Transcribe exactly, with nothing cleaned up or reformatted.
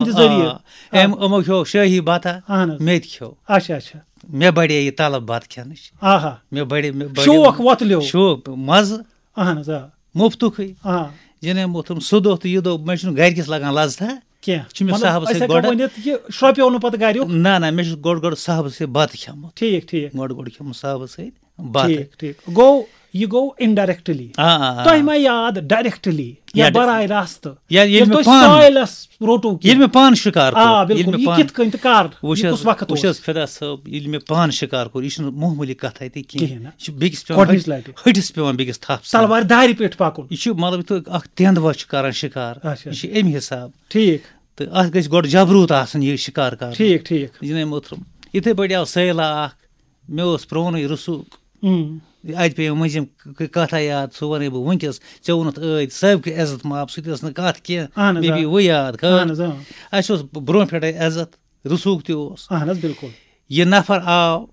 تِہنٛدِ ذٔریعہٕ۔ آ، أمۍ یِمو کھیو شٲہی بتہ، اہن حظ۔ مےٚ تہِ کھیو۔ اچھا اچھا۔ مےٚ بڑے یہِ طلب بتہٕ کھٮ۪نٕچ۔ آہا۔ مےٚ بڑے مےٚ بڑے شوق وۄتلیو۔ شوق مزٕ۔ اہن حظ آ۔ مُفتُکٕے۔ آ۔ جناب محترم، سُہ دۄہ تہٕ یہِ دۄہ، مےٚ چھُنہٕ گرِکِس لگان لذتھا۔ کینٛہہ۔ چھُ مےٚ مطلب، صاحبس أسۍ سۭتۍ ہٮ۪کو گۄڈٕ۔ ؤنِتھ، یہِ شرٛۄپیو نہٕ پتہٕ گرِیُک۔ نہ نہ، مےٚ چھُ گۄڈٕ گۄڈٕ صاحبس سۭتۍ بتہٕ کھٮ۪مُت۔ ٹھیٖک ٹھیٖک۔ گۄڈٕ گۄڈٕ کھٮ۪مُت صاحبس سۭتۍ بتہٕ۔ ٹھیٖک ٹھیٖک۔ گوٚو، یہِ گوٚو indirectly۔ آ آ آ۔ تۄہہِ ما یاد directly یا یا ڈ- براہ راستہٕ؟ یا ییٚلہِ ییٚلہِ مےٚ تُہۍ پانہٕ، soil س روٚٹوٕ کینٛہہ۔ ییٚلہِ مےٚ پانہٕ شِکار کوٚر، آ ییٚلہِ بِلکُل، مےٚ یہِ پانہٕ کِتھ کٔنۍ تہٕ کر؟ وٕچھ یہِ حظ، کُس وقت وٕچھ اوس؟ حظ فدا صٲب، ییٚلہِ مےٚ پانہٕ شِکار کوٚر، یہِ چھُنہٕ معموٗلی کتھا تہِ کینٛہہ۔ کِہیٖنۍ نہٕ۔ یہِ چھُ بیٚکِس پٮ۪وان گۄڈٕنِچ ہٹ- لٹہِ۔ ہٹِس پٮ۪وان بیٚکِس تھپھ ژھٕنٕنۍ۔ تلوارِ دارِ پٮ۪ٹھ پکُن۔ یہِ چھُ مطلب، یِتھ پٲٹھۍ اکھ تٮ۪نٛد وۄچھ چھُ کران شِکار، اچھا۔ یہِ چھُ اَمہِ حساب۔ ٹھیٖک۔ تہٕ اتھ گژھِ گۄڈٕ جبروٗت آسُن یہِ شِکار کرُن۔ ٹھیٖک ٹھیٖک۔ جناب محترم، یِتھے پٲٹھۍ آو سیلہ اکھ، مےٚ اوس پرونُے رسوٗخ۔ اۭں۔ اتہِ پیٚیہِ مٔنٛزِم ک- کتھا یاد، سُہ ونَے بہٕ وٕنکیٚس۔ ژےٚ ووٚنُتھ ٲدۍ صٲبکہِ عزت ماپ، سُہ تہِ ٲس نہٕ کتھ کینٛہہ۔ اہن حظ، مےٚ آ۔ پیٚیہِ وۄنۍ یاد، خٲر۔ اہن حظ، آ۔ اسہِ اوس برونٛہہ پٮ۪ٹھے عزت، رسوٗخ تہِ اوس۔ اہن حظ، بِلکُل۔ یہِ نفر آو،